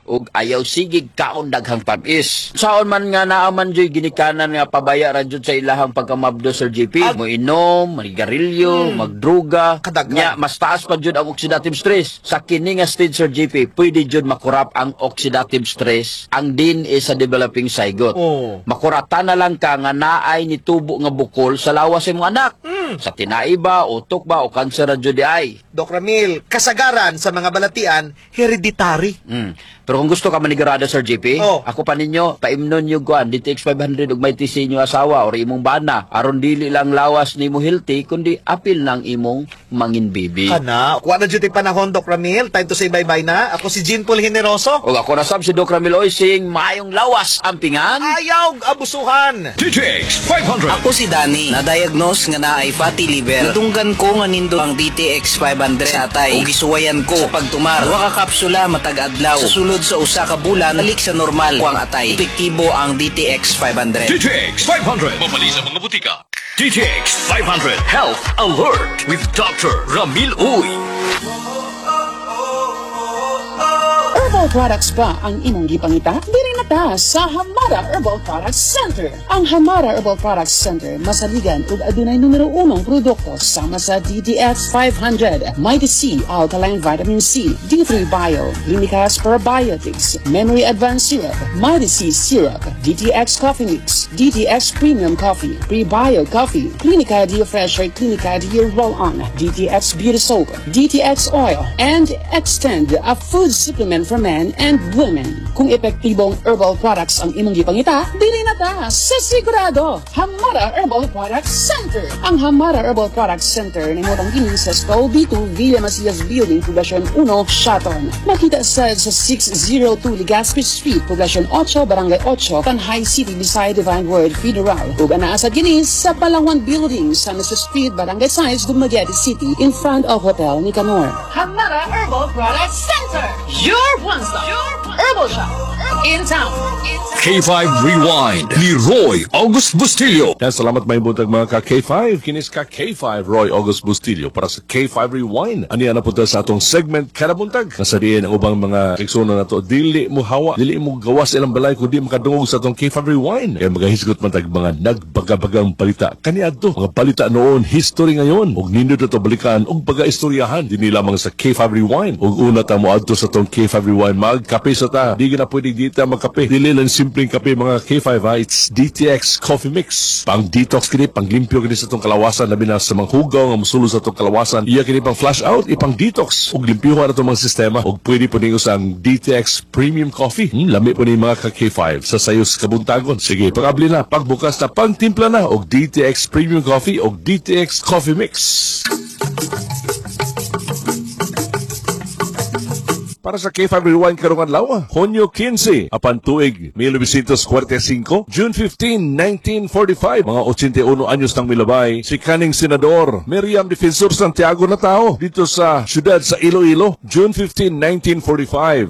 Ug ayaw sigig kaon daghang tamis. Saon man nga naa man joy ginikanan nga pabaya ra jud sa ilahang pagkamabdo, Sir JP. Mo inom, manigarilyo, magdruga. Kadaghan. Nya mas taas pa jud ang oxidative stress. Sa kini nga stage, Sir JP, pwede jud makurap ang oxidative stress ang DNA sa developing zygote. Makurata na lang ka nga naay nitubo nga bukol sa lawas sa imong anak. Sa tinai ba, utok ba, o kanser ra jud ay. Doc Ramil, kasagaran sa mga balatian, hereditary. Pero kung gusto ka manigurado, Sir JP, ako pa ninyo, paimnon nyo kuan, DTX 500 ug may TC inyo asawa or imong bana. Aron dili lang lawas nimo healthy, kundi apil ng imong mangin bibi. Kana, kuha na dyan panahon, Doc Ramil. Time to say bye-bye na. Ako si Jean Paul Generoso. O ako na sab si Doc Ramil Oysing, maayong lawas ang pingan. Ayaw abusuhan! DTX 500. Ako si Danny, na-diagnose nga naay fatty liver. Nadunggan ko nga nindot ang DTX 500 sa atay ug gisuwayan ko sa pagtumar. Duha ka kapsula matag adlaw. Sa sulod sa usa ka bulan, balik sa normal ko ang atay. Epektibo ang DTX 500. DTX 500. Mabali sa mga butika. DTX 500 Health Alert with Dr. Ramil Uy. Herbal products ba ang imong gipangita? Diri na ta sa Hamara Herbal Products Center. Ang Hamara Herbal Products Center masaligan ug adunay numero unong produkto sama sa DTX 500, Mighty C Alkaline Vitamin C, D3 Bio, Clinicas Probiotics, Memory Advanced Syrup, Mighty C Syrup, DTX Coffee Mix, DTX Premium Coffee, Prebio Coffee, Clinica D Fresher, Clinica D Roll-On, DTX Beauty Soap, DTX Oil, and Extend, a food supplement for men and women. Kung epektibong herbal products ang imong gipangita, dili na ta sa sigurado. Hamara Herbal Products Center. Ang Hamara Herbal Products Center nahimutang kini sa Stall B2 Villa Macias Building, Poblacion 1, Siaton. Makita sa 602 Legazpi Street, Poblacion 8, Barangay 8, Tanjay City, beside Divine Word Funeral. Ug anaa sad kini sa Palawan Building sa Mr. Street, Barangay 6, Dumaguete City, in front of Hotel Nicanor. Hamara Herbal Products Center, your one-stop herbal shop in town. K5 Rewind ni Roy August Bustillo. Yan, salamat, may buntag mga ka K5. Kinis ka K5 Roy August Bustillo para sa K5 Rewind. Ani na punta sa atong segment kada buntag. Nasa diin ang ubang mga kaigsuonan nato. Dili mo hawa, dili mo gawas ilang balay kundi makadungog sa atong K5 Rewind. Kaya magahisgot man tag mga nagbagabagang balita. Kaniadto, mga balita noon, history ngayon. Ug nindot ato balikan ug pagaistoryahan dinhi lamang sa K5 Rewind. Ug una ta mo adto sa atong K5 Rewind, magkape sa ta. Di na pwede dita magkape. Dili lang simpleng kape, mga K5 ha. It's DTX Coffee Mix. Pang detox kini, pang limpyo kini sa atong kalawasan, labi na sa mga hugaw nga mosulod sa atong kalawasan. Iya kini pang flush out, ipang detox ug limpyuhan atong mga sistema. Ug pwede po ninyo sa ang DTX Premium Coffee. Lami po ni mga ka K5 sa sayos kabuntagon. Sige, pangabli na, pagbukas na, pangtimpla na og DTX Premium Coffee og DTX Coffee Mix. Para sa K5 Rewind karong adlaw, Hunyo 15, apan tuig 1945, June 15, 1945, mga 81 anyos nang milabay, si kaning Senador Miriam Defensor Santiago na tao dito sa syudad sa Iloilo, June 15,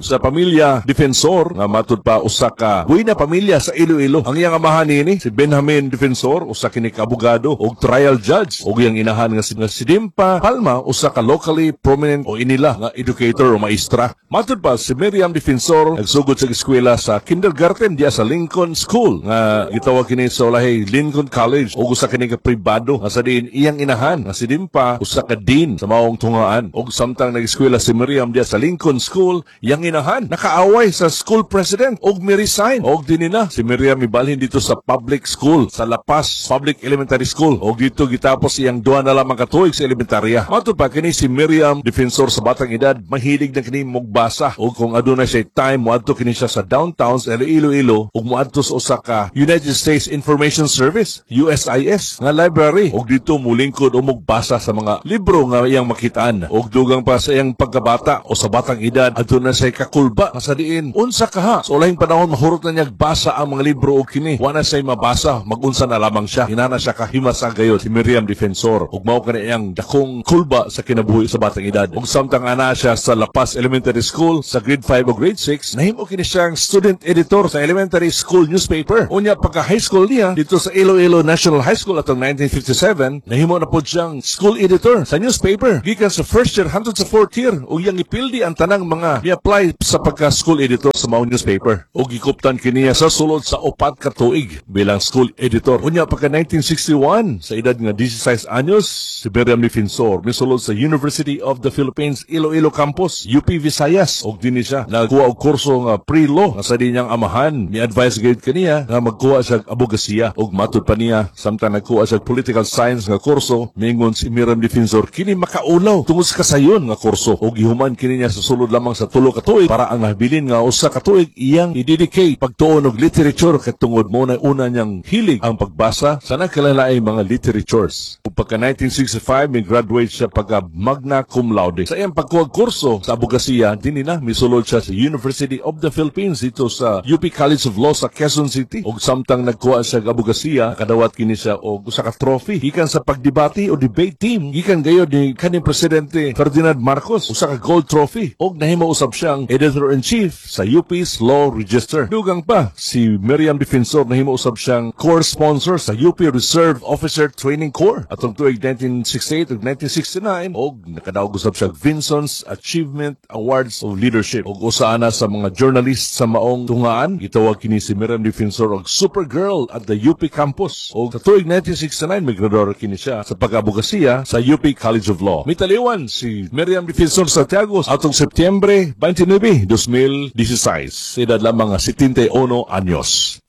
1945, sa pamilya Defensor, nga matud pa usa ka buena pamilya sa Iloilo. Ang iyang amahan nini, si Benjamin Defensor, usa kini ka abogado og trial judge, ug iyang inahan nga si Dimpa Palma, usa ka locally prominent o inila nga educator o maestra. Matud pa si Miriam Defensor nagsugod sa eskwela sa kindergarten diya sa Lincoln School nga gitawag kini sa ulahi Lincoln College ug usa kini ka pribado nga sa diin iyang inahan nga si Dimpa usa ka dean sa maong tungaan. Ug samtang nag-eskwela si Miriam diya sa Lincoln School, iyang inahan nakaaway sa school president ug mi-resign og dinhi na si Miriam mibalhin dito sa public school sa La Paz Public Elementary School ug dito gitapos iyang duha na lamang ka tuig sa elementarya. Matud pa kini si Miriam Defensor sa batang edad mahilig na kini mogbasa ug kung aduna siya time moadto kini siya sa downtown sa Iloilo ug moadto sa usa ka United States Information Service, USIS, nga library ug dito mulingkod o mogbasa sa mga libro nga iyang makitaan. Ug dugang pa sa iyang pagkabata o sa batang edad, aduna siya kakulba nga sa diin unsa kaha sa ulahing panahon mahurot na niya basa ang mga libro og kini wa na siya mabasa, magunsa na lamang siya. Hinana siya kahimasa gayod si Miriam Defensor ug mao kani iyang dakong kulba sa kinabuhi sa batang edad. Ug samtang ana siya sa La Paz Elementary school sa grade 5 o grade 6, nahimo kini siyang student editor sa elementary school newspaper. Unya pagka high school niya dito sa Iloilo National High School atong 1957, nahimo na pod siyang school editor sa newspaper. Gikan sa first year hangtod sa fourth year ug iyang gipildi ang tanang mga mi-apply sa pagka school editor sa maong newspaper. Ug gikuptan kini sa sulod sa 4 ka tuig bilang school editor. Unya pagka 1961, sa edad nga 16 anyos, si Miriam Defensor misulod sa University of the Philippines Iloilo Campus, UP Visayas. Ug dinhi siya nagkuha og kurso nga pre-law nga sa niyang amahan mi-advise gayud kaniya nga magkuha siya og abogasiya. Ug matud pa niya, samtang nagkuha siya og political science nga kurso, mingon si Miriam Defensor kini makaulaw tungod sa kasayon nga kurso. Ug gihuman kini niya sa sulod lamang sa 3 ka tuig para ang nabilin nga 1 ka tuig iyang i-dedicate pagtuon og literature kay tungod mo na una niyang hilig ang pagbasa sa nagkalain mga literatures. Ug pagka 1965, mi graduate siya pagka magna cum laude. Sa iyang pagkuha kurso sa abogasiya, dinhi na misulod siya sa University of the Philippines dito sa UP College of Law sa Quezon City. Ug samtang nagkuha siya og abogasiya, kadawat kini siya og usa ka trophy gikan sa pagdebate o debate team gikan gayod ni kaning Presidente Ferdinand Marcos, usa ka gold trophy. Og nahimo usab siyang editor-in-chief sa UP's Law Register. Dugang pa, si Miriam Defensor nahimo usab siyang course sponsor sa UP Reserve Officer Training Corps atong tuig 1968 ug 1969, og nakadaog usab siya Vinson's Achievement Awards of Leadership. Og usa ana sa mga journalist sa maong tungaan, gitawag kini si Miriam Defensor og Supergirl at the UP campus. Og sa tuig 1969, migraduar kini siya sa pag-abogasiya sa UP College of Law. Mitaliwan si Miriam Defensor Santiago atong Setyembre 29, 2016, edad lamang nga 71 anyos.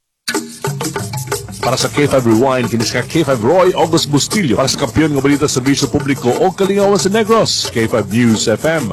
Para sa K5 Rewind, kini si K5 Roy August Bustillo. Para sa kampiyon nga balita sa serbisyo publiko o kalingawan sa Negros, K5 News FM.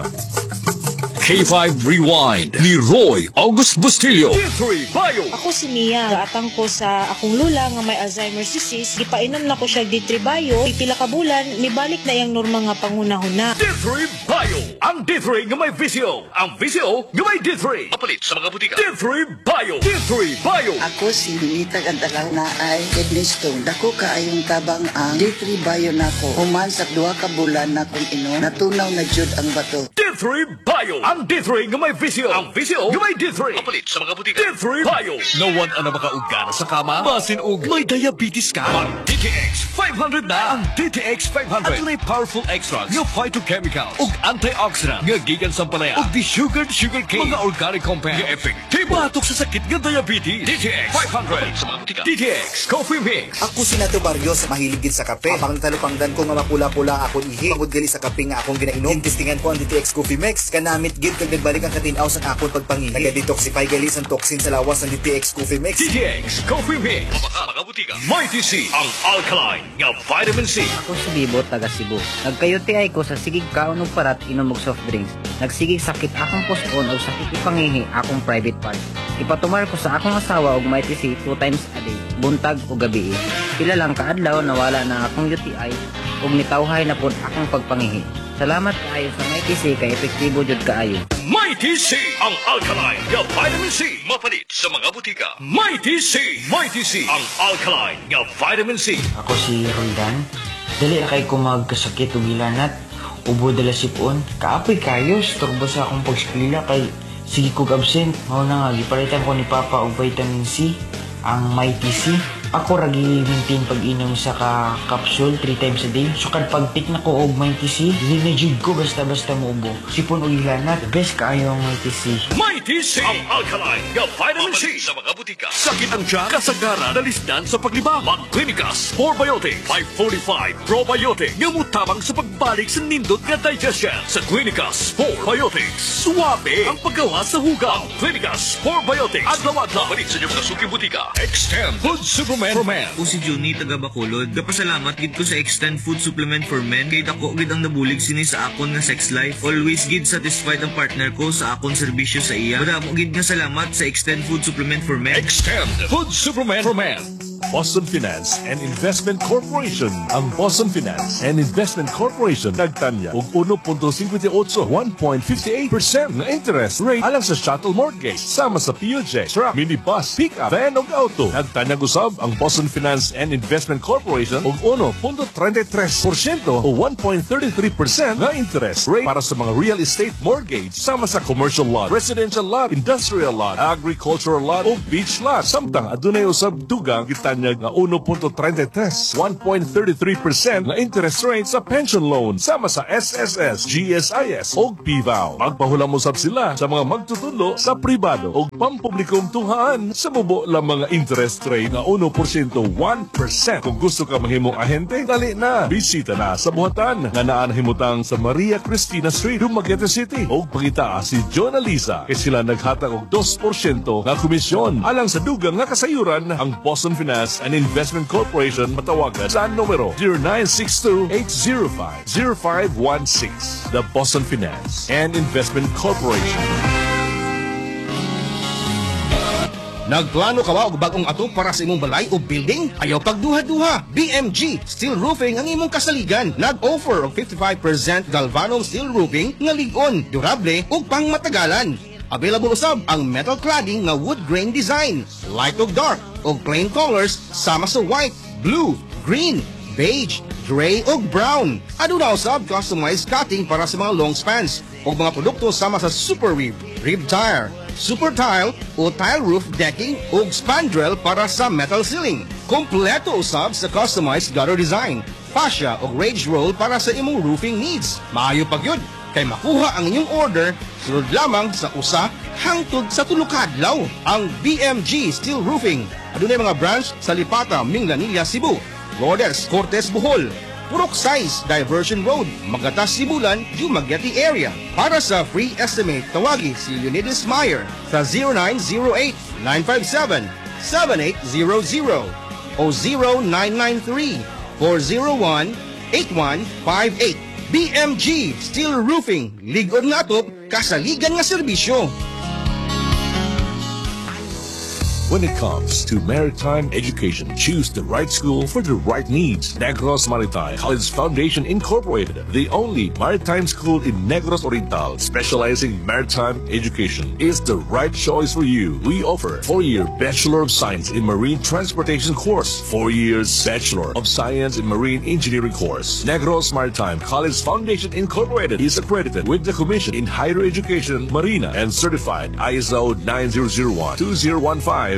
K5 Rewind ni Roy August Bustillo. D3 Bio. Ako si Mia. Gaatang ko sa akong lula nga may Alzheimer's disease. Gipainom na ko siya D3 Bio. Pipila ka bulan, mibalik na iyang normal nga panghunahuna. D3 Bio. Ang D3 nga may VCO. Ang VCO nga may D3. Mapalit sa mga butika. D3 Bio. D3 Bio. Ako si Ninita Gantalaw na ay kidney stone. Dako kaayong tabang ang D3 Bio nako. Human sa 2 ka bulan na kong inom, natunaw na jud ang bato. D3 Bio. Ang D3 nga may VCO. Ang VCO nga may D3. Mapalit sa mga butika. D3 Bio. Nawan na makaugana sa kama. Basin og may diabetes ka. Mag DTX 500 na. Ang DTX 500. Adunay powerful extracts nga phytochemicals ug antioxidant nga gikan sa ampalaya ug desugared sugar cane. Mga organic compounds nga epektibo batok sa sakit nga diabetes. DTX 500 sa mga butika. DTX Coffee Mix. Ako si Nato Barrios, mahilig gid sa kape. Apang talupangdan ko nga mapula-pula ang akong ihi. Pagod gali sa kape nga akong ginainom. Gintistingan ko ang DTX Coffee Mix. Kanamit gid kag nagbalik ang katinaw sa akong pagpangihi. Naga-detoxify gali sa toxin sa lawas ang DTX Coffee Mix. DTX Coffee Mix. Sa mga butika. Mighty C, ang alkaline nga vitamin C. Ako si Bibo, taga Cebu. Nagka-UTI ko sa sigig kaon og parat, inom og soft drinks. Nagsigig sakit akong puson og sakit ipangihi akong private part. Ipatumar ko sa akong asawa og Mighty C two times a day, buntag o gabi. Pila lang kaadlaw, nawala na akong UTI ug nitawhay na pod akong pagpangihi. Salamat kaayo sa Mighty C kay epektibo jud kaayo. Mighty C, ang alkaline nga vitamin C. Mapalit sa mga butika. Mighty C, Mighty C, ang alkaline nga vitamin C. Ako si Roldan. Dali ra kay ko magkasakit og hilanat. Ubo, dala sipon. Kaapoy kayo, storbo sa akong pagskwela kay sige kog absent. Mao na nga gipalitan ko ni Papa og vitamin C, ang Mighty C. Ako ra gi-maintain pag-inom sa ka capsule 3 times a day. So kad pag-take na ko og Mighty C, dili na jud ko basta-basta muubo. Sipon og hilanat, best kaayo ang Mighty C. Mighty C, ang alkaline nga vitamin C. Sa mga butika. Sakit ang tiyan, kasagaran, nalisdan sa paglibang. Mag-Clinicas Probiotic 545 Probiotic nga mutabang sa pagbalik sa nindot nga digestion. Sa Clinicas Probiotics, suwabe ang paggawa sa hugaw. Clinicas Probiotics. Adlaw-adlaw. Balik sa inyong mga suking butika. Extend Food Supplement for Men. Ako si Juni, taga Bacolod. Gapasalamat gid ko sa Extend Food Supplement for Men kay dako gid ang nabulig sini sa akon nga sex life. Always gid satisfied ang partner ko sa akon serbisyo sa iya. Madamo gid nga salamat sa Extend Food Supplement for Men. Extend Food Supplement for Men. Boston Finance and Investment Corporation. Ang Boston Finance and Investment Corporation nagtanyag og 1.58, 1.58% nga interest rate alang sa chattel mortgage sama sa PUJ, truck, minibus, pickup, van ug auto. Nagtanyag usab ang Boston Finance and Investment Corporation og 1.33% o 1.33% nga interest rate para sa mga real estate mortgage sama sa commercial lot, residential lot, industrial lot, agricultural lot o beach lot. Samtang adunay usab dugang gitanyag nga 1.33, 1.33% nga interest rate sa pension loan sama sa SSS, GSIS o PVAO. Magpahulam usab sila sa mga magtutudlo sa pribado o pampublikong tunghaan sa mubo lang mga interest rate nga 1%, 1%. Kung gusto ka mahimong ahente, dali na. Bisita na sa buhatan nga naa nahimutang sa Maria Cristina Street, Dumaguete City. O pangita si John Alisa kay sila naghatag og 2% nga komisyon. Alang sa dugang nga kasayuran, ang Boston Finance and Investment Corporation matawagan sa numero 0962-805-0516. The Boston Finance and Investment Corporation. Nagplano ka ba og bag-ong atop para sa imong balay o building? Ayaw pagduha-duha. BMG Steel Roofing ang imong kasaligan. Nag-offer og 55% galvanum steel roofing nga lig-on, durable ug pangmatagalan. Available usab ang metal cladding nga wood grain design, light ug dark, ug plain colors sama sa white, blue, green, beige, gray ug brown. Aduna usab customized cutting para sa mga long spans ug mga produkto sama sa super rib, rib tire, super tile o tile roof decking ug spandrel para sa metal ceiling. Kompleto usab sa customized gutter design, fascia ug rage roll para sa imong roofing needs. Maayo pa gyud kay makuha ang inyong order sulod lamang sa 1 hangtod sa 3 ka adlaw. Ang BMG Steel Roofing adunay mga branch sa Lipata, Minglanilla, Cebu, Lourdes, Cortes, Bohol, Purok 6, Diversion Road, Magatas, Sibulan, Dumaguete area. Para sa free estimate, tawagi si Leonidas Meyer sa 0908-957-7800 o 0993-401-8158. BMG Steel Roofing, lig-on nga atop, kasaligan nga serbisyo. When it comes to maritime education, choose the right school for the right needs. Negros Maritime College Foundation Incorporated, the only maritime school in Negros Oriental specializing maritime education, is the right choice for you. We offer 4-year Bachelor of Science in Marine Transportation course, 4 years Bachelor of Science in Marine Engineering course. Negros Maritime College Foundation Incorporated is accredited with the Commission in Higher Education Marina and certified ISO 9001-2015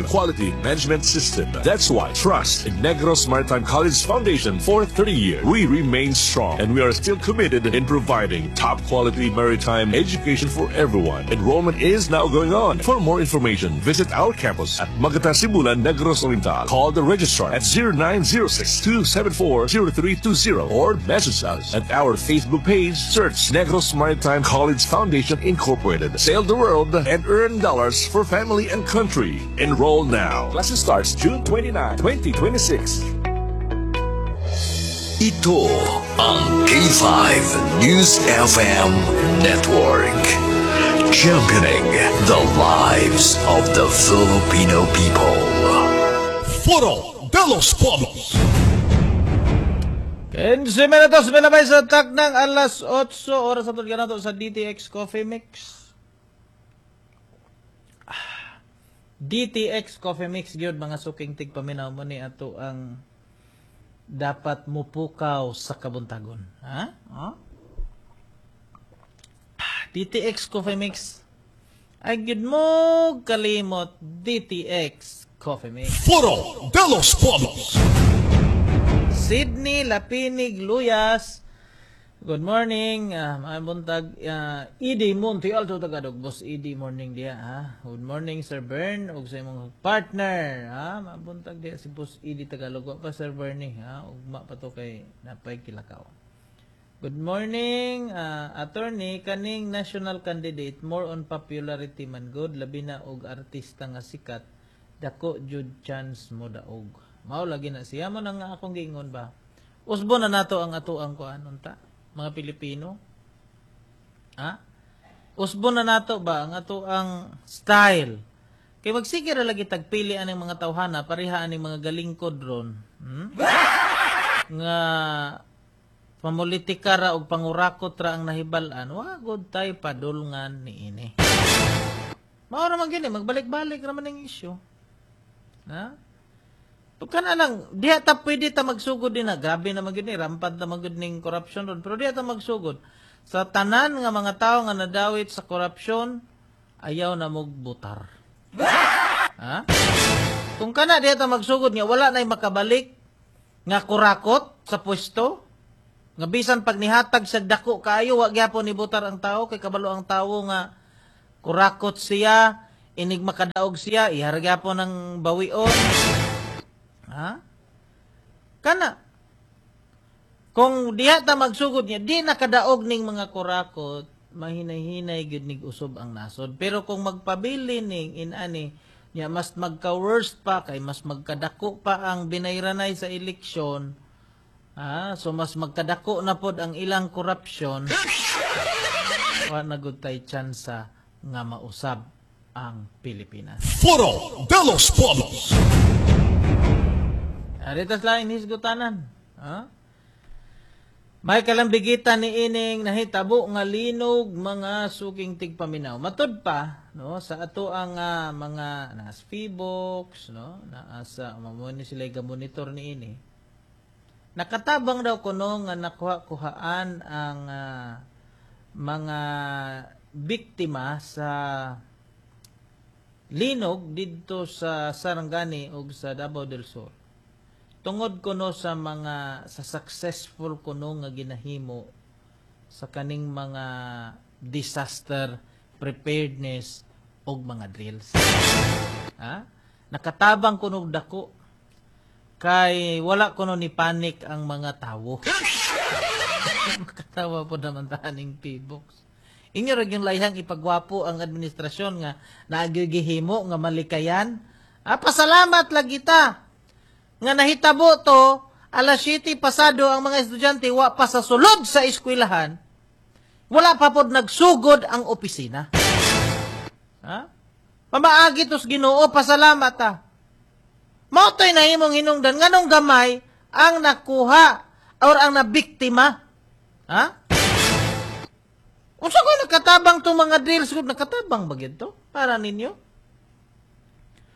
Quality Management System. That's why trust in Negros Maritime College Foundation for 30 years. We remain strong and we are still committed in providing top quality maritime education for everyone. Enrollment is now going on. For more information, visit our campus at Magata Sibulan, Negros Oriental. Call the registrar at 0906-274-0320 or message us at our Facebook page. Search Negros Maritime College Foundation Incorporated. Sail the world and earn dollars for family and country. Enroll now. Classes starts June 29, 2026. Ito ang K5 News FM Network. Championing the lives of the Filipino people. Foro de los Pueblos. 15 minutos milabay sa taknang alas 8 oras sa tulgan nato sa DTX Coffee Mix. DTX Coffee Mix gyud, mga suking tigpaminaw, mo ni ato ang dapat mupukaw sa kabuntagon. Ha? Ha? DTX Coffee Mix. Ay gyud mo kalimot, DTX Coffee Mix. Foro de los Pueblos. Sydney Lapinig Luyas. Good morning. Maayong buntag. Idi Monte Alto Tagalog. Boss Idi, morning diya ha. Good morning, Sir Bern ug sa imong partner ha. Maayong buntag diya si Boss Idi Tagalog. Wa pa Sir Bernie ha. Ugma pa to kay napay kilakaw. Good morning, attorney. Kaning national candidate more on popularity man good, labi na og artista nga sikat, dako jud chance mo daog. Mao lagi na siya mo nang akong giingon ba. Usbo na nato ang atuang kuan unta, mga Pilipino. Ha? Usbo na nato ba ang atuang style. Kay magsige ra lagi tagpili aning mga tawhana, pareha aning mga galingkod ron. Nga pamulitika ra og pangurakot ra ang nahibal-an, wa gud tay padulngan niini. Mao ra man gyud ni, magbalik-balik ra man ning issue. Ha? Pagka na lang, diha ta pwede ta magsugod din na. Grabe na man gyud ni, rampant na man gyud ning corruption ron. Pero diha ta magsugod. Sa tanan nga mga tawo nga nadawit sa corruption, ayaw na mugbutar. Ha? Kung kana diha ta magsugod nga wala na'y makabalik nga kurakot sa pwesto, nga bisan pag nihatag sa dako kaayo, wa gyapon nibutar ang tao kay kabalo ang tawo nga kurakot siya, inig makadaog siya, ihar gyapon ang bawion. Ha? Kana kung diha ta magsugod niya, di nakadaog ning mga kurakot, mahinay-hinay gyud nig usob ang nasod. Pero kung magpabili ning inani niya, mas magka-worst pa kay mas magkadako pa ang binayranay sa eleksyon. Ah, so mas magkadako na pod ang ilang corruption. Wa na gud tay tsansa nga mausab ang Pilipinas. Foro de los Pueblos. Aritas lang hisgutanan. Ha? May kalambigitan ni ining nahitabo nga linog mga suking tigpaminaw. Matud pa no sa ato ang mga nas Feebox no naa sa mamo ni sila ga-monitor ni ini. Nakatabang daw kuno nga nakuha-kuhaan ang mga biktima sa linog didto sa Sarangani ug sa Davao del Sur. Tungod kuno sa mga sa successful kuno nga ginahimo sa kaning mga disaster preparedness og mga drills. Ha? Nakatabang kuno dako kay wala kuno ni panic ang mga tawo. Makatawa po naman taning P-box. Inyo ra gyud layhang ipagwapo ang administrasyon nga naagigihimo nga malikayan. Ah, pasalamat lagi ta nga nahitabo to alas 7 pasado ang mga estudyante wa pa sa sulod sa eskwelahan, wala pa pod nagsugod ang opisina. Ha? Pamaagi tos Ginoo, pasalamat ta. Mao to'y nahimong hinungdan nganong gamay ang nakuha or ang nabiktima. Ha? Unsa ko nakatabang tong mga drills gud, nakatabang ba gyud to para ninyo?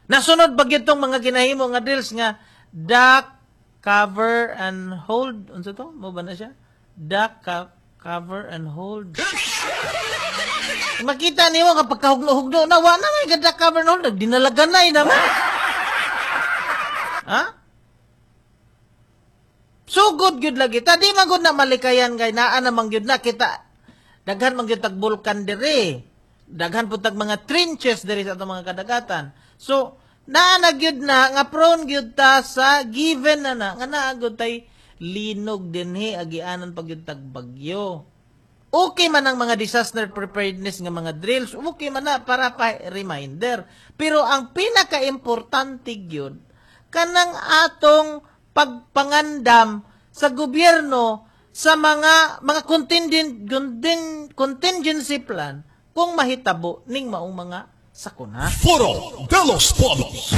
Nasunod ba gyud tong mga ginahimo nga drills nga duck, cover, and hold? Unsa to? Mo ba na siya? Duck, cover, and hold. Makita niyo kapag kahugno-hugno na, wa na may duck, cover, and hold. Nagdinalaganay naman. Ha? Sugod gyud lagi. Ta di man gud na malikayan kay naa namang gyud na kita. Daghan man gyud tag bulkan diri. Daghan pud tag mga trenches diri sa atong mga kadagatan. So, naa na gyud na nga prone gyud ta sa given na na nga naa gyud tay linog dinhi agianan pag gyud tag bagyo. Okay man ang mga disaster preparedness nga mga drills, okay man na para pa reminder. Pero ang pinakaimportante gyud kanang atong pagpangandam sa gobyerno sa mga contingency plan kung mahitabo ning maong mga sakuna. Foro de los Pueblos.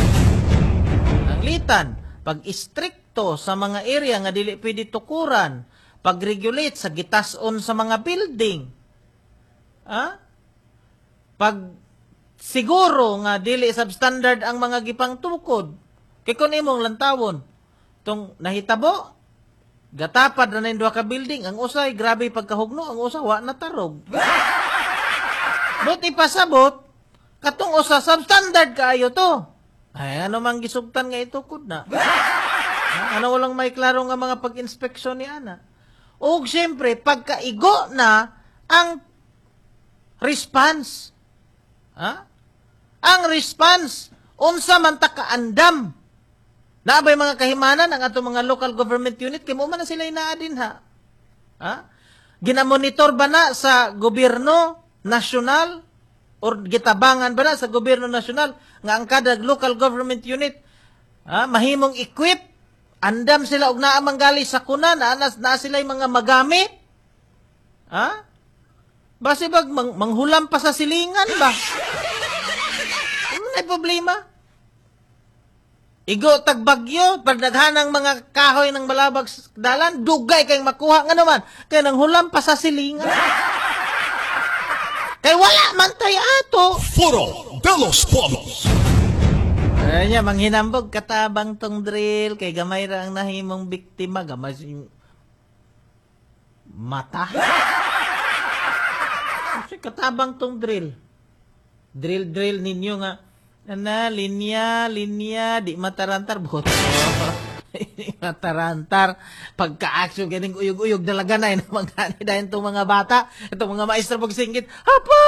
Ang litan, pag-istrikto sa mga area nga dili pwede tukuran, pag-regulate sa gitason sa mga building. Ha? Pag siguro nga dili substandard ang mga gipangtukod, kay kun imong lantawon, tong nahitabo, gatapad na duha ka building, ang usay grabe pagkahugno, ang usa wa natarog. But ipasabot, katong usa substandard kaayo to. Ay, ano mang gisugtan nga itukod na? Ano walang may klaro nga mga pag-inspeksyon ni ana? Og siyempre, pagkaigo na ang response. Ha? Ang response, unsa man ta kaandam. Naabay mga kahimanan ang atong mga local government unit, kay mo man na sila inaa din ha. Ha? Ginamonitor ba na sa gobyerno nasyonal or gitabangan ba na sa gobyerno nasyonal nga ang kada local government unit, ha, mahimong equip, andam sila og naa manggali sa kuna, naa sila mga magamit. Ha? Basi bag manghulam pa sa silingan ba? na problema. Igo tag bagyo, pagdaghanang mga kahoy ng balabag sa dalan, dugay kay makuha nga naman. Kay nang hulam pa sa silingan. Kay wala man tay ato. Foro de los Pueblos. Ay niya, manghinambog katabang tong drill, kay gamay ra ang nahimong biktima, gamay yung mata. Kasi katabang tong drill. Drill, drill ninyo nga, ana, linya, linya, di matarantar, boto. Di matarantar. Pagka-action, ganing uyog-uyog, dalaga na, mga dahil itong mga bata, itong mga maestro pagsingkit, hapa!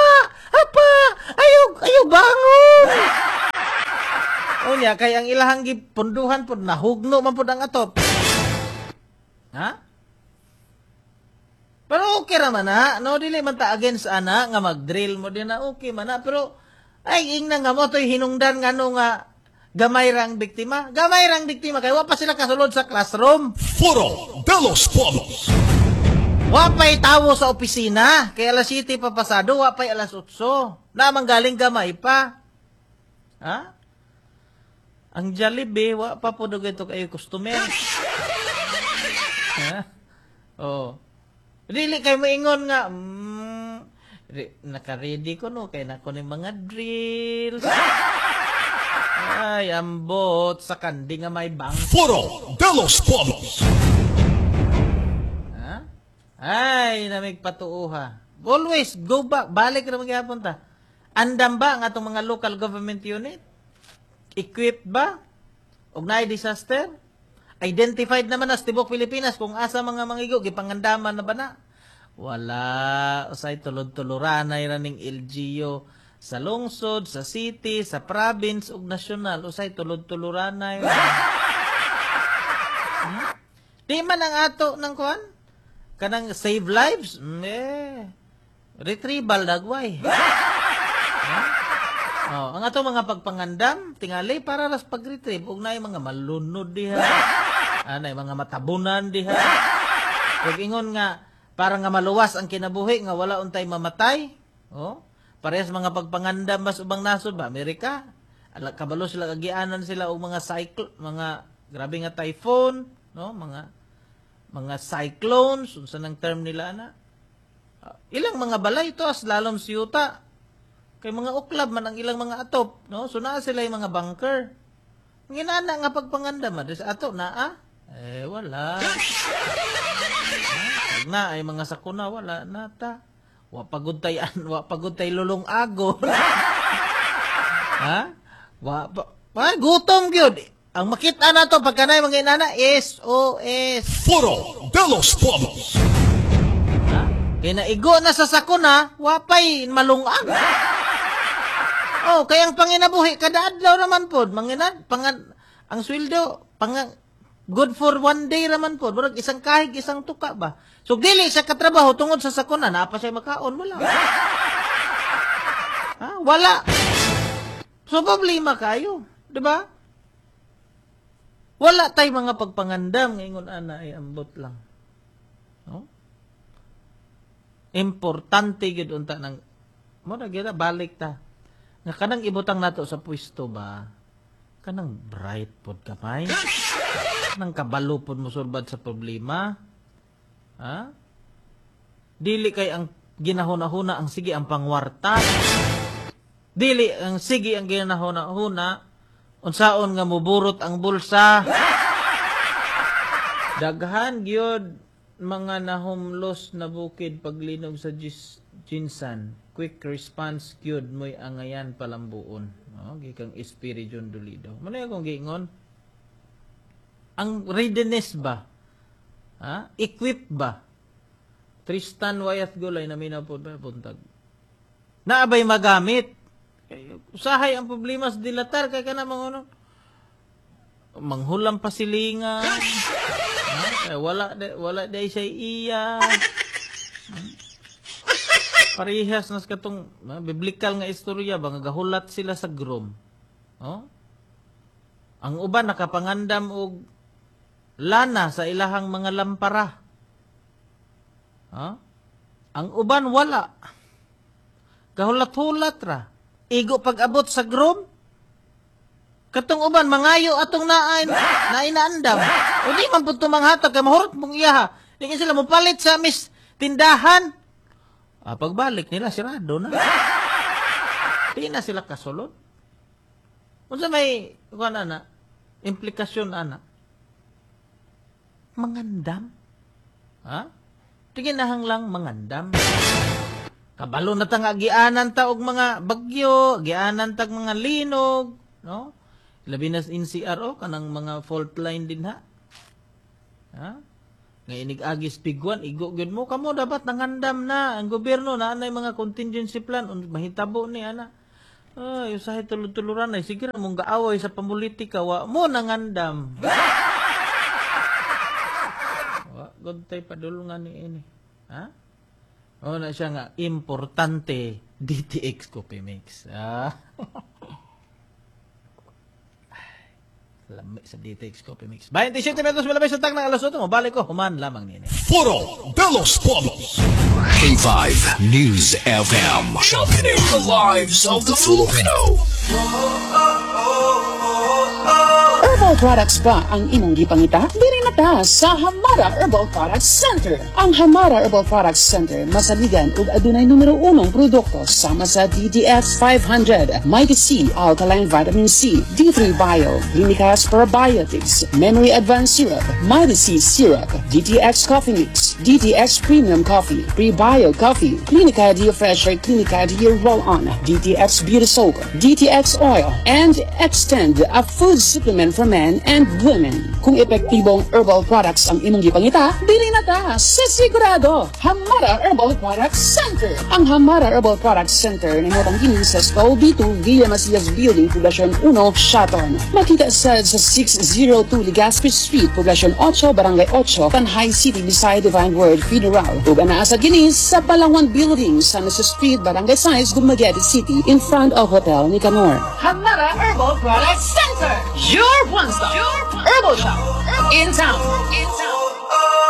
Hapa! Ayaw, ayaw, bangon! Unya, kay ang ilahang gipunduhan po, nahugno man po ang atop. Ha? Pero okay raman na, no? Dili man ta against ana, nga mag-drill mo din na, okay man na. Pero, ay, ingna nga mo, to'y hinungdan nga no nga, gamay rang biktima. Gamay rang biktima, kay wa pa sila kasulod sa classroom. Foro de los Pueblos. Wa pa'y tawo sa opisina, kay alas 7 pa pasado, wa pa'y alas 8. Namang galing gamay pa. Ha? Ang Jollibee, wa pa po dugay to kayo customer. Ha? Oh. Dili kay moingon nga, naka-ready ko no, kay nako ni mga drills. Ay, ambot sa kandi nga may bank. Foro de los Pueblos. Ha? Ay, namig patuuha. Always go back, balik ra magyapon ta. Andam ba ang atong mga local government unit? Equipped ba? Og naay disaster? Identified naman na sa tibok Pilipinas kung asa mga mangigo, gipangandaman na ba na? Wala. Usay tulod-tuluran na ning LGU sa lungsod, sa city, sa province ug nasyonal. Usay tulod-tuluran na. Di man ang ato ng kuan? Kanang save lives? Retrieval dagway. Oh, ang ato mga pagpangandam, tingali para ras pag-retrieve ug naay mga malunod diha. Anay mga matabunan diha. Ug ingon nga para nga maluwas ang kinabuhi nga wala untay mamatay. Oh, parehas mga pagpangandam mas ubang nasod ba Amerika? Ala kabalo sila kagianan sila og mga cycle, mga grabe nga typhoon, no, mga cyclones, unsa nang term nila ana? Ilang mga balay to as lalom siyuta. Kay mga uklab man ang ilang mga atop, no? So naa sila yung mga bunker. Nginana nga pagpangandam man sa ato naa? Eh wala. Pag na ay mga sakuna wala na ta. Wa pagod tay an, wa pagod tay lulong ago. Ha? Wa pa, gutom gyud. Ang makita na to pagka naay mga inana SOS. Foro de los Pueblos. Ha? Kay naigo na sa sakuna, wa pay malungag. Oh, kaya ang panginabuhi kada adlaw raman pod, manginad pangan ang sweldo pang good for one day raman pod, murag isang kahig isang tuka ba. So dili siya katrabaho tungod sa sakuna, naa pa siya makaon wala. Ha? Wala. So problema kayo, di ba? Wala tay mga pagpangandam ngayon ana ay ambot lang. No? Importante gyud unta nang mo na gyud balik ta. Nga kanang ibutang nato sa pwesto ba? Kanang bright pod kamay. Kanang kabalo pod mosulbad sa problema. Ha? Dili kay ang ginahuna-huna ang sige ang pangwarta. Dili ang sige ang ginahuna-huna unsaon nga muburot ang bulsa. Daghan gyud mga nahumlos na bukid paglinog sa Jinsan. Quick response gyud mo'y angayan palambuon. No, gikang Espiritu Dolido. Muna akong giingon. Ang readiness ba? Ha? Equip ba? Tristan Wyatt Gulay na minapod ba buntag. Naabay magamit. Kay usahay ang problema sa dilatar kay kana mga ano. Manghulam pa silingan. Ha? Kay wala day siya iya. Parehas nas katong biblical nga istorya ba nga gahulat sila sa grom. Oh? Ang uban nakapangandam og lana sa ilahang mga lampara. Ha? Ang uban wala. Gahulat-hulat ra. Igo pag-abot sa grom, Katong uban mangayo atong naay naay naandam. O di man pud manghatag kay mahurot mong iyaha. Di kay sila mopalit sa mis tindahan. Ah, pagbalik nila sirado na. Di na sila kasulod. Unsa may kuan ana? Implikasyon ana? Mangandam. Ha? Tingin nahang lang mangandam. Kabalo na ta nga gianan ta og mga bagyo, gianan tag mga linog, no? Labi na sa NCR o kanang mga fault line din ha. Ha? Nga inig agis pigwan igo gyud mo kamo dapat nangandam na ang gobyerno na anay mga contingency plan mahitabo ni ana. Ay, usahay tulud-tuluran ay sige ra mong gaaway sa pamulitika wa mo nangandam. Wa gud tay padulungan ni ini. Ha? O na siya nga importante DTX Coffee Mix. Ah. Lami sa DTX Coffee Mix. 27 minutos malabay sa tag ng alas 8. Mabalik ko, human lamang nini. Foro de los Pueblos. K5 News FM. Championing the lives of the Filipino. Herbal products ba ang imong gipangita? Diri na ta sa Hamara Herbal Products Center. Ang Hamara Herbal Products Center masaligan ug adunay numero unong produkto sama sa DDX 500, Mighty C Alkaline Vitamin C, D3 Bio, Clinicas Probiotics, Memory Advanced Syrup, Mighty C Syrup, DTX Coffee Mix, DTX Premium Coffee, Prebio Coffee, Clinica D Fresher, Clinica D Roll-On, DTX Beauty Soap, DTX Oil, and Extend, a food supplement for men and women. Kung epektibong herbal products ang imong gipangita, dili na ta sa sigurado. Hamara Herbal Products Center. Ang Hamara Herbal Products Center nahimutang kini sa Stall B2 Villa Macias Building, Poblacion 1, Siaton. Makita sa 602 Legazpi Street, Poblacion 8, Barangay 8, Tanjay City, beside Divine Word Funeral. Ug anaa sa kini sa Palawan Building, San Jose Street, Barangay 6, Dumaguete City, in front of Hotel Nicanor. Hamara Herbal Products Center, your one-stop herbal shop in town. In town.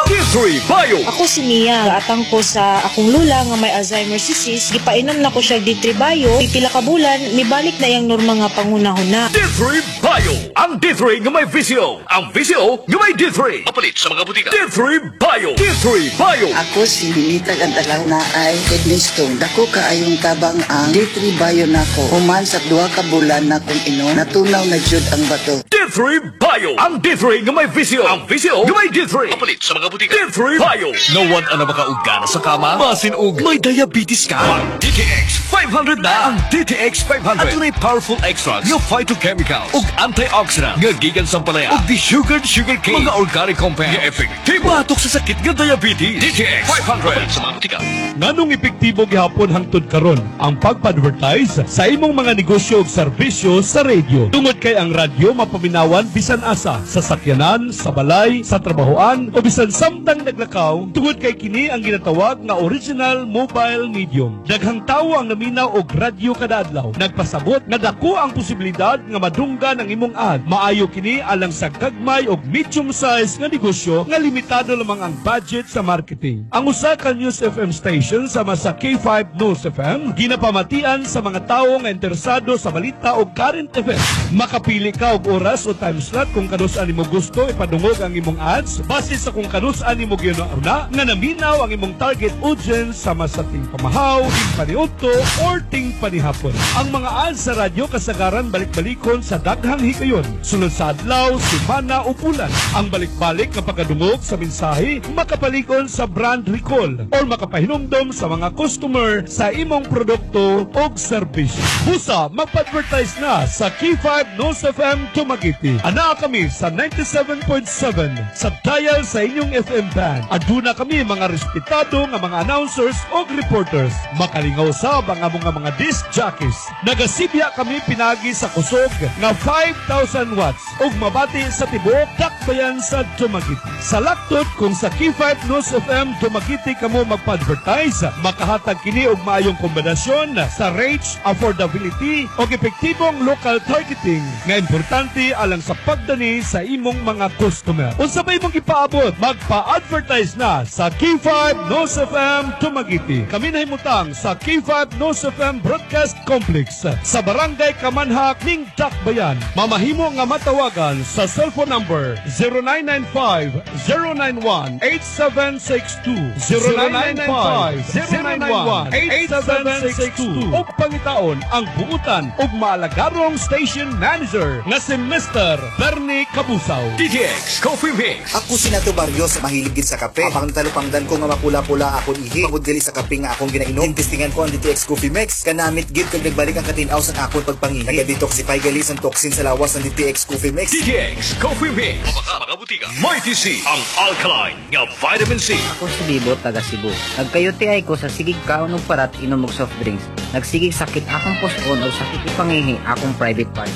D3 Bio. Ako si Mia, atang ko sa akong lula nga may Alzheimer's disease, gipainom na ko siya D3 Bio, pipila ka bulan, mibalik na iyang normal nga panghunahuna. D3 Bio. Ang D3 nga may VCO. Ang VCO nga may D3. Apalit sa mga butika. D3 Bio. D3 Bio. Ako si Ninita Gantalaw na ay kidney stone. Dako kaayong tabang ang D3 Bio nako. Human sa 2 ka bulan na kong inom, natunaw na jud ang bato. D3 Bio. Ang D3 nga may VCO. Ang VCO nga may D3. Apalit sa mga butika. D3 Bio. No one ana makaugana sa kama. Basin og may diabetes ka. Mag DTX 500 na. Ang DTX 500. Adunay powerful extracts nga phytochemicals ug antioxidant nga gikan sa ampalaya ug desugared sugar cane. Mga organic compound nga epektibo batok sa sakit nga diabetes. DTX 500. Apalit sa mga butika. Nganong epektibo gihapon hangtod karon ang pagpa-advertise sa imong mga negosyo ug serbisyo sa radio. Tungod kay ang radyo mapaminawan bisan asa, sa sakyanan, sa balay, sa trabahoan o bisan samtang naglakaw, tungod kay kini ang ginatawag nga original mobile medium. Daghang tawo ang naminaw og radyo kada adlaw. Nagpasabot nga dako ang posibilidad nga madunggan ang imong ad. Maayo kini alang sa gagmay og medium size nga negosyo nga limitado lamang ang budget sa marketing. Ang usa ka News FM station sama sa K5 News FM ginapamatian sa mga tawo nga interesado sa balita o current events. Makapili ka og oras o time slot kung kanus-an nimo gusto ipadungog ang imong ads base sa kung kanus-an nimo gihuna nga naminaw ang imong target audience sama sa ting pamahaw, ting paniudto or ting panihapon. Ang mga ads sa radyo kasagaran balik-balikon sa daghang higayon. Sulod sa adlaw, semana o bulan. Ang balik-balik nga pagkadungog sa mensahe makapalikon sa brand recall or makapahinumdom sa mga customer sa imong produkto o serbisyo. Busa, magpa-advertise na sa K5 News FM Dumaguete. Anaa kami sa 97.7 sa dial sa inyong FM band. Aduna kami mga respetado nga mga announcers o reporters. Makalingaw sab ang among nga mga disc jockeys. Nagasibya kami pinagi sa kusog nga 5,000 watts ug mabati sa tibuok dakbayan sa Dumaguete. Sa laktod kung sa K5 News FM Dumaguete kamo magpa-advertise, makahatag kini og maayong kombinasyon sa reach, affordability ug epektibong local targeting nga importante alang alang sa pagdani sa imong mga customer. Unsa ba imong ipaabot? Magpa-advertise na sa K5 Nos FM Dumaguete. Kami nahimutang sa K5 Nos FM Broadcast Complex sa Barangay Kamanhak, ning Dakbayan. Mamahimo nga matawagan sa cellphone number 0995 091 8762, 0995 091 8762, o pangitaon ang buutan ug maalagarong station manager nga si Mr. Bernie Kabusaw. DTX Coffee Mix. Ako si Nato Barrios, mahilig gid sa kape. Apang talupangdan ko nga mapula-pula akon ihi. Pangod gali sa kape nga akong ginainom. Tintistingan ko ang DTX Coffee Mix. Kanamit gid kag nagbalik ang katinaw sa akon pagpangihi. Naga-detoxify gali sa toxin sa lawas ang DTX Coffee Mix. DTX Coffee Mix. Mga butika. Mighty C. Ang alkaline nga vitamin C. Ako si Bibo, taga Cebu. Nagka-UTI ko sa sigig kaon og parat, inom og soft drinks. Nagsigig sakit akong puson og sakit ipangihi akong private part.